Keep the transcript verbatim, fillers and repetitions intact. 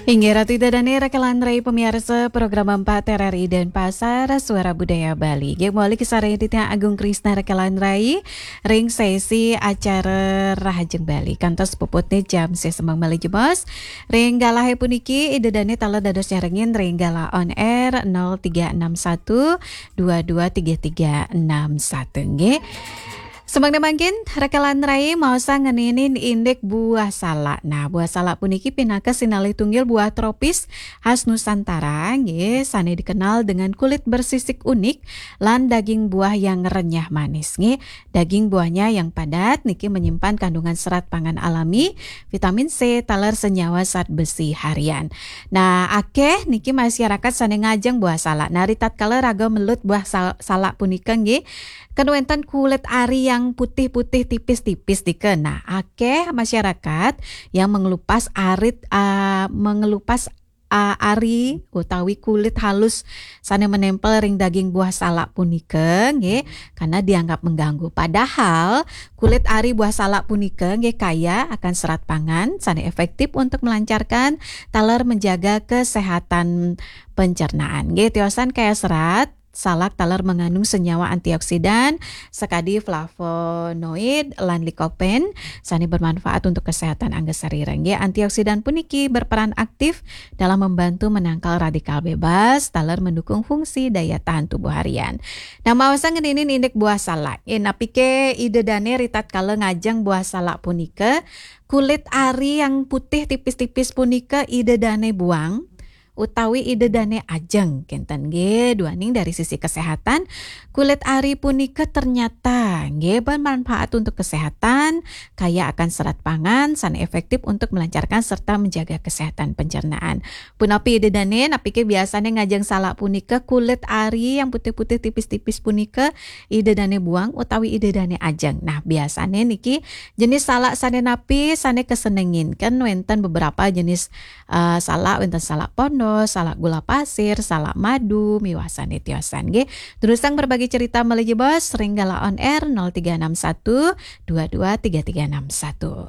Inggih Ratu Ida Dane rekan rai pemiarsa program empat R R I Denpasar, Suara Budaya Bali. Nggih, mawali kasarengin titiang Agung Krisna rekan rai ring sesi acara Rahajeng Bali. Kantos puputne jam sesembang malih jebos. Ring galahe puniki Ida Dane taler dados nyarengin ring galah on air nol tiga enam satu dua dua tiga tiga enam satu, nggih. Semangda mangkin, rekan rai maosang ngeninin indik buah salak. Nah, buah salak puniki pinaka sinalih tunggil buah tropis khas Nusantara, nggih, sane dikenal dengan kulit bersisik unik lan daging buah yang renyah manis, nggih. Daging buahnya yang padat niki menyimpan kandungan serat pangan alami, vitamin C, taler senyawa zat besi harian. Nah, akeh niki masyarakat sane ngajeng buah salak. Nah, ritatkala raga melut buah sal-, salak punika, nggih, kan wenten kulit ari yang putih-putih tipis-tipis nika. Nah, akeh masyarakat yang mengelupas arit, ah, mengelupas, ah, ari utawi kulit halus sane menempel ring daging buah salak punika, nggih, karena dianggap mengganggu. Padahal kulit ari buah salak punika, nggih, kaya akan serat pangan sane efektif untuk melancarkan taler menjaga kesehatan pencernaan. Nggih, tiosan kaya serat, salak taler mengandung senyawa antioksidan, sakadi flavonoid lan lycopene, sane bermanfaat untuk kesehatan angga sarira. Nggih, antioksidan puniki berperan aktif dalam membantu menangkal radikal bebas, taler mendukung fungsi daya tahan tubuh harian. Nah, maosang ngeninin indik buah salak. Eh, napike Ida Dane ritatkala ngajeng buah salak punika, kulit ari yang putih tipis-tipis punika Ida Dane buang, utawi Ida Dane ajeng, kenten nggih, duaning dari sisi kesehatan, kulit ari punika ternyata nggih bermanfaat untuk kesehatan, kaya akan serat pangan, sane efektif untuk melancarkan serta menjaga kesehatan pencernaan. Punapi Ida Dane, napike biasane ngajeng salak punika kulit ari yang putih-putih tipis-tipis punika Ida Dane buang utawi Ida Dane ajeng. Nah, biasane niki jenis salak sane napi sane kesenengin? Kan wenten beberapa jenis, eh, salak, wenten salak pondo, salak gula pasir, salak madu, miwah sane tiosan, nggih. Durusang berbagi cerita malih jebos ring galah on air nol tiga enam satu dua dua tiga tiga enam satu.